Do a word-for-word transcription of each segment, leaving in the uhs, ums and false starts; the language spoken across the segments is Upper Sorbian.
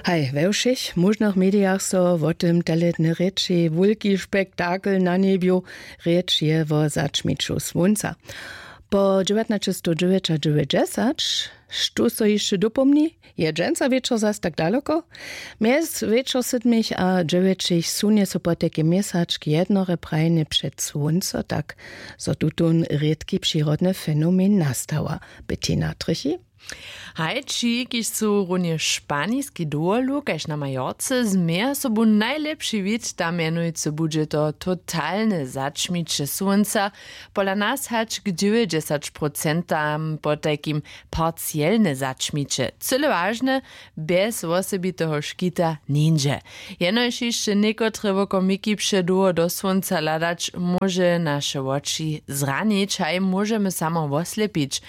Haj, we wšěch móžnych medijach so wo tym teledny rěči, wulki spektakel na njebju. Rěč je wo zaćmiću słónca. Po dźewjatnaćestowdźewjećadźewjećdźesać, štó so hišće dopomni? Je dźensa wječor zas tak daloko? Mjez wječor sydmich a dźewjećich sunje so potajki měsačk jednore prajnje před słónco, tak zo tutón rědki přirodny fenomen nastała. Bettina Trychi. Hajči, kiž su runje španiski dowolu kaž na majorce, změja sobu najlěpši wid, tam mjenujcy budźe to totalne zaćmiće słónca. Pola nas hač k dźewjećdźesać procentam potajkim parcielne zaćmiće, cyle wažne, bjez wosebiteho škita nińdźe. Jenož hišće někotre wokomiki předołho do słónca hladać, móže naše woči zranić, haj móžemy samo woslepić.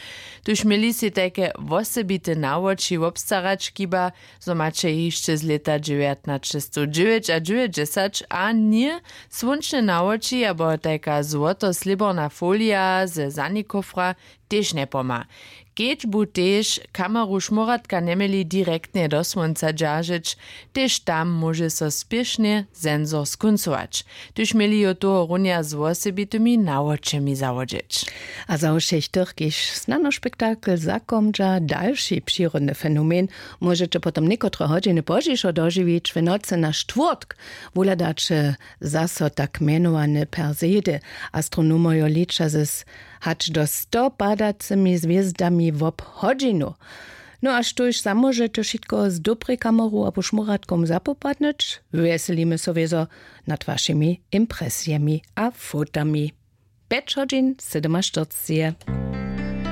Tuž měli sej tajke wosebite nawoči wobstarać, chiba zo maće hišće z lěta dźewjatnaćestowdźewjećadźewjećdźesać a ně, słónčne nawoči abo tajka złotoslěborna folija ze zanikofra tež njepomha. Kedźbu tež kameru šmóratka njeměli direktnje do słónca dźeržeć, tež tam móže so spěšnje sensor skóncować. Tuž měli jo tohorunja z wosebitymi nawočemi zawodźeć. A za wšěch tych, kiž snano spektakel zakomdźa dalši přirodny fenomen, móžeće potom někotre hodźiny pozdźišo dožiwić. W nocy na štwórtk wuhladaće zaso tak mjenowane persedy. Astronomojo liča z hač do sto padacymi hwězdami wob hodźinu. No a štóž zamóžeće wšitko z dobrej kameru abo šmóratkom zapopadnyć? Wjeselimy so wězo nad wašimi impresijemi a fotami. Pjeć hodźin sydomaštyrceje.